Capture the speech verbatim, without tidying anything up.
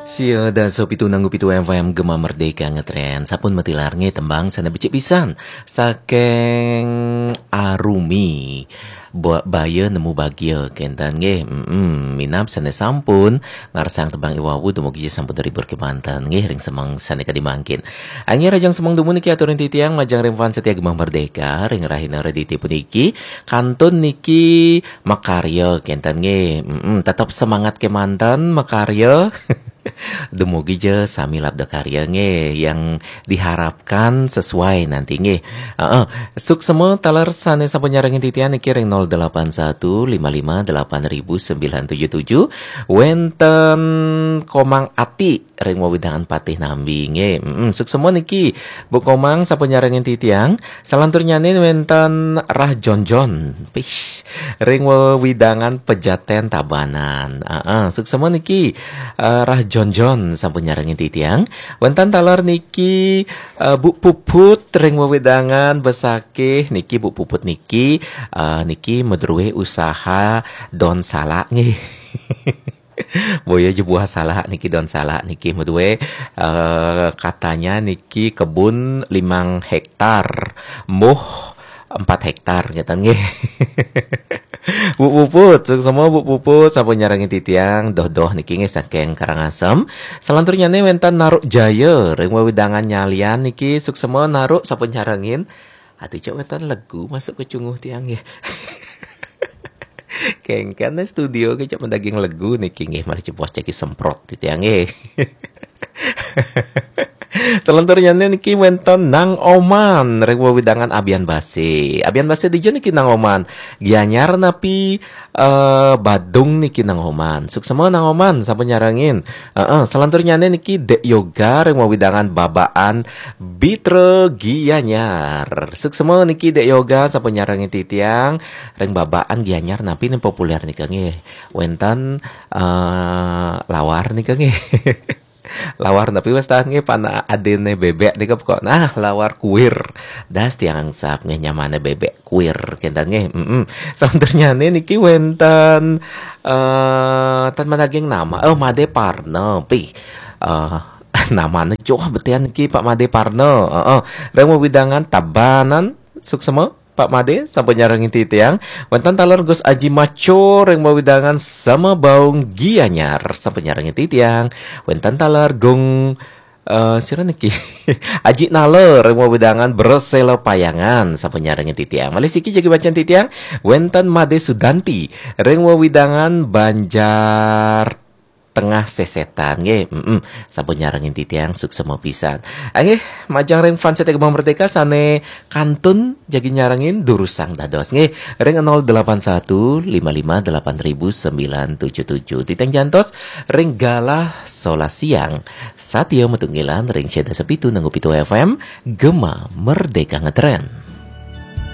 Sia dasa pitu nanggu pitu F M Gema Merdeka ngetren. Sampun matilar nggih tembang sane becik pisan saking Arumi. Ba-, Baya Nemu Bagia kenten nggih. Mm-mm. Minab sane sampun ngarsang tembang iwau dumugi sampun terhibur kemanten nggih ring semeng sane kadi mangkin. Anggih rajang semeng dumun niki aturin titiang majeng ring fans setia Gema Merdeka ring rahina Redite puniki kantun niki makarya kenten nggih. Mm-mm. Tetep semangat kemanten makarya. Dumugi ja sami labda karya nggih yang diharapkan sesuai nanti nggih. Heeh. Suksema taler sane sampun nyarengin titian niki ring nol delapan satu lima lima delapan ribu sembilan tujuh tujuh. Wenten Komang Ati ring wewidangan Patih Nambi nggih. Mm-mm. Suksema niki Bu Komang sampun nyarengin titiang. Salanturnyane wenten Rah Jonjon. Pis. Ring wewidangan Pejaten Tabanan. Heeh, suksema niki eh, Rah Jonjon sampun nyarengin titiang. Wenten taler niki eh, Bu Puput ring wewidangan Besakih niki Bu Puput niki eh, niki madruwe usaha don salak nggih. Boya jebuah salak niki don salak niki madruwe eh, katanya niki kebun limang hektar. Muh empat hektar ngeten nggih. Bu Puput, suksema Bu Puput sampun nyarengin titiang doh-doh niki nggih saking Karangasem. Salanturnyane wenten Naruk Jaya ring wewidangan Nyalian niki suksema Naruk sampun nyarengin. Ati cek wenten legu masuk ke cunguh tiang nggih. Kengken studio ke cek mendaging legu niki nggih malah cepos ceki semprot titiang nggih. Salanturnyane niki wenten Nang Oman ring wewidangan Abian Base. Abian Base dija niki Nang Oman? Gianyar napi eh, Badung niki Nang Oman? Suksema Nang Oman sampun nyarengin. Heeh, salanturnyane niki Dek Yoga ring wewidangan Babaan Bitra Gianyar. Suksema niki Dek Yoga sampun nyarengin titiang ring Babaan Gianyar napi nih populer nika nggih. Wenten eh, lawar nika nggih. Lawar tapi wis tahan nggih pan adene bebek nika pokok. Nah, lawar kuir. Das tiang sap nggih nyamane bebek kuir kenten nggih. Mm-mm. Salanturnyane niki wenten eh tan madaging nama. Oh, Made Parna pi. Eh namane joh betian niki Pak Made Parna. Heeh. Ring wewidangan Tabanan suksema Pak Made sampun nyarengin titiang. Wenten taler Gus Aji Maco ring wewidangan Sama Baung Gianyar sampun nyarengin titiang. Wenten taler Gung eh sira niki Aji Nala ring wewidangan Bresela Payangan sampun nyarengin titiang. Malih siki jagi bacaan titiang wenten Made Sudanti ring wewidangan Banjar Tengah Sesetan nggih. Mm-mm. Sampun nyarengin titiang suksema pisan. Nggih, majeng ring fans setia Gema Merdeka sane kantun jagi nyarengin durusang dados nggih. Ring nol delapan satu lima lima delapan ribu sembilan tujuh tujuh. Titiang jantos ring galah solas siang. Satia matunggilan ring sia dasa pitu nanggu pitu F M Gema Merdeka ngetren.